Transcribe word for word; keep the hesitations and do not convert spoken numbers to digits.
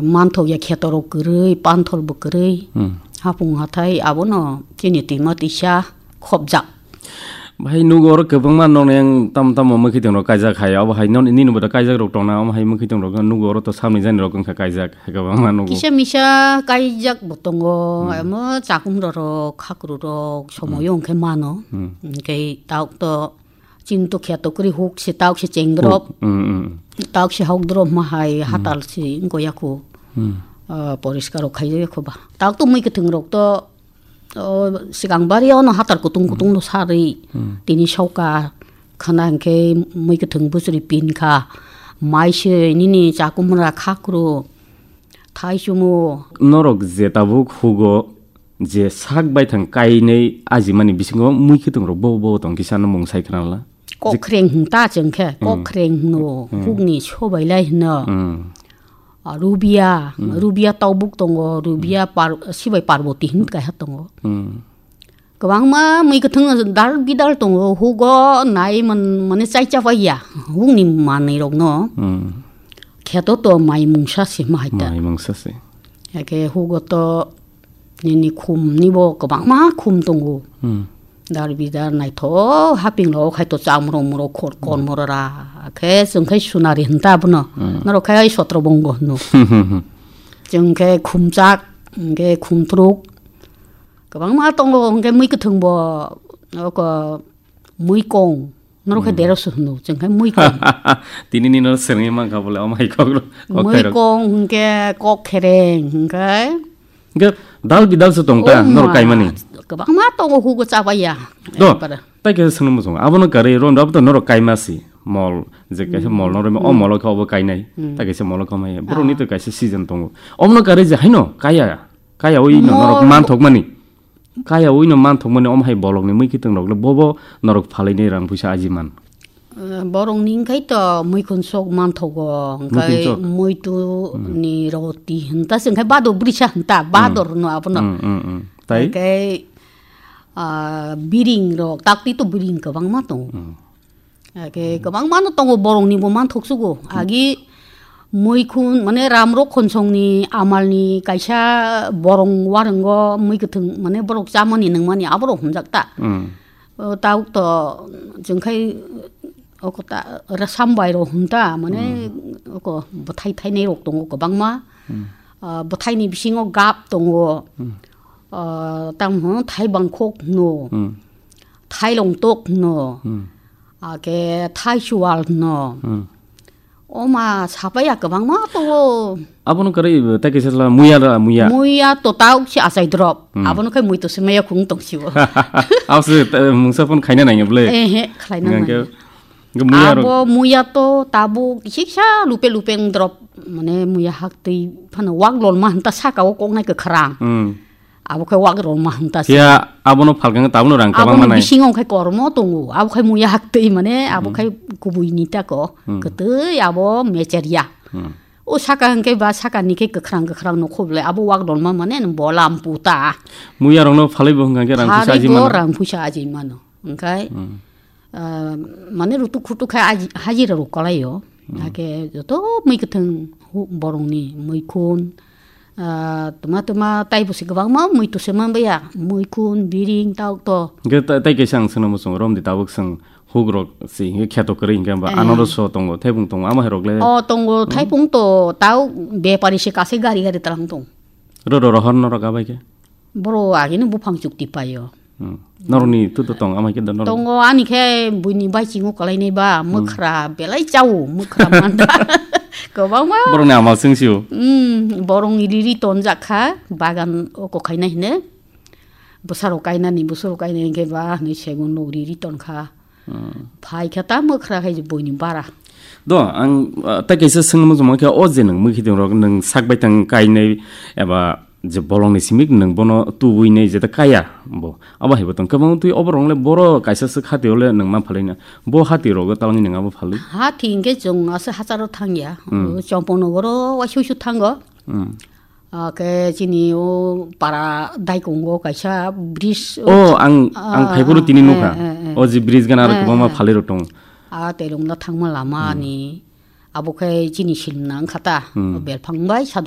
Manthok ya kheto rok kwrwi, panthol bo kwrwi. Hmm. Hapung hathai abono chini twima twisa khopjak. Bahai nugo oro kwbangma nokni ang tamo tamo mwkhwtwng rok kaijak hai, abo hai non-, nini bo da kaijak rok tongna, omo hai mwkhwtwng rok nugo oro to samni jani rok wngkha kaijak, kwbangma nugo. Kisa misa kaijak bo tongo, Hmm. amo chakum rok, khakru rok, somoyo Hmm. wngkhe mano. Hmm. Hwnkhe tauk to chini to kheto kwrwi huk se tauk se cheng drop. Huk. Hmm, hmm. Tauk se hok drop ma hai Hmm. hatal se wngko yaku. Hmm. Ah, poriskar rok khaijak yakho ba. Tauk to mwkhwtwng rok to O, sigang bari ono hatar kutung kutung no sarwi Hmm. tini sauka khana hwnkhe mui kwthwng bwswrwi pin kha. Mai se nini chakumra khakru thai chumu. Norok je tabuk hugo je sak baithang kainwi ajimani bisingo mui kwthwng rok bo bo tong kisa no mung sai khna la. Kok Je- khreng hwn ta chwng khe, kok Hmm. khreng hwno, Hmm. hukni sobailai hwno. Hmm. Ah, Rubia, Hmm. Rubia tobuk tongo, Rubia par-, sibai Parvati hwn kaiha tongo. Hmm. Kwbangma mui kwthwng dal bidal tongo, hugo nai man-, mane chai chapaiya, hukni manwi rokno. Hmm. Kheto to mai mungsa se ma hai ta. Mai mungsa se. Eke hugo to Nini khum ni bo kwbangma khum tongo. Hmm. Dar bidar naithok haping rok khai to chamrok murok khor Hmm. kon morora. Khe chwng khai sunari hwnta abono. Hmm. Norok khai sotro bongo hwno. Chwng khe khumchak, hwnkhe khumtruk. Kwbangma tongo, hwnkhe mui kwthwng bo, oko Muikong, norok khe Hmm. derosok hwno, chwng khe muikong. Tini ni no swrwngwi mankha bole, omo hai kok ro-, kok khairok. Muikong hwnkhe kok khereng hwnkhe. Hwnkhe dal bidal se tong ta, Oh norok ma, kaimani. Kwbangma tongo hugo chabaiya. Do, Ekbare. Tai khe swngno muchungo. Abono karwi ron, abo to norok kaima si. Mol, je kaisa Hmm. mol norok, o Hmm. molo khe obo kainai. Hmm. Tai kaisa molo khe omo hai. Borok ni Ah. to kaisa season tongo. Omono karwi je haino kaya, kaya ui no norok Mol- manthokmani. Kaya ui no manthokmani omo hai bolokni mui kiting rok le bobo norok phalwi ni rang puisa aji man. Eh, borok ni wngkhai to muikhun sok manthogo, wngkhai Muikhun sok. muitu Hmm. ni roti hinta se wngkhai bado brisa hinta Hmm. bador no abono. Hmm, hmm, hmm. Tai? Wngkhai, ah, biring rok, takti to biring kwbangma tongo. Hmm. Ake kwbangma no tongo, borok ni bo manthok sugo. Agi muikhun, mane, Ramrok Khonsong ni amal ni kaisa borong warungo mui kwthwng, mane, borok chamani nungmani aborok hwnjak ta. Hmm. O, tauk to, chwng khai, oko ta, ra sambai rok hwn ta, mane, Hmm. oko bwthai thainai rok tongo kwbangma. Hmm. Ah, bwthai ni bisingo gap tongo. Hmm. Ah, tamo thaibang khok hwno. Hmm. Thailong tok hwno. Hmm. Ake thaichual hwno. Hmm. Oma sapaiya kwbangma tongo. Abono kwrwi, tei kaisa sala muya ra, muya. Muya to tauk si achai drop. Hmm. Abono khai mui to se maya khung tong sibo. Abo se, eh, mungsa phone khaina nangya bwle. Eh, he, khlaina Hingke, nangya. hingke muya rok. Abo muya to tabuk kisa kisa lupe lupe wng drop. Mane muya hak twi phano wak lolma hwnta saka o koknai kwkhrang. Hmm. Abo khe wak rwma hwnta se. Phiya abono phalkang tabukno rang kwbangma Aboni nai. bisingo khe kormo tongo. Abo khe muya haktwi mane abo Hmm. khe kubui ni tako. Hmm. Kwtwi abo mecher ya. Hmm. O saka hwnkhe ba saka ni khe kwkhrang kwkhrang no khoble abo wak dolma mane bolam puta. Muya rokno phalwi bo hwnkha khe rang puisa Phalwi aji bo mano. rang puisa aji mano. Hwnkhe, Hmm. ah, mane rutuk khutuk khe aji-, hajira rok kwlaio. Hmm. Hakhe joto mui kwthwng hu-, borokni muikhun, Ah, tuma tuma taibo se kwbangma mui to se manbaya, muikhun, biring, tauk to. Hingke ta-, tai kaisa ang swnamo chwng romdi tabuk chwng hugrok si hingke kheto kwrwi hingke ba Ah. anoro so tongo, thaibung tongo, ama hai rok le. O tongo, Hmm. thaibung to tau bepari se kasai gari gari talang tong. Ro ro rohor norok abai khe? Boro agini buphang chukti paio. Hmm. Norokni tu to tong, ama khe da norok. Tongo, ani khe buini bai chingo kwlainai ba, Hmm. mwkhra belai chao, mwkhra manda. Kwbangma. Borokni ama chwng sio. Hmm, borokni riri tonjak kha, bagan o kokhaina hine. Bwsarok kainani, bwsarok kainani khe ba, hwnwi segun nok riri ton kha. Hmm. Phai kha ta mwkhra khai buini bara. Do, ang, ah, tai kaisa swngno muchungma khe, o je nwng mwkhitwng rok nwng sak bai tang kainai eba je bolongni simi nwng bono tubui nai jeta kaya bo. Abo hai bo tong kwbang twi obo rong le boro kaisa swk hati ole nwng ma phalai na. Bo hati rogo talangni nwng abo phalwi. Hati hingke chwng asa hacharo thangya. Hmm. O Champaknagar o waisui su thango. Hmm. Ah, ke chini o para daikongo kaisa bridge o Oh, ang, ang ah, phaiphuru tini eh, nukha. eh, eh. O je bridge gana aro Eh, kwbangma eh. phalwi rok tongo. Ah, telong na thangma lama Hmm. ni. Abo khe chini silmna wngkha ta, Hmm. o belphang bai sa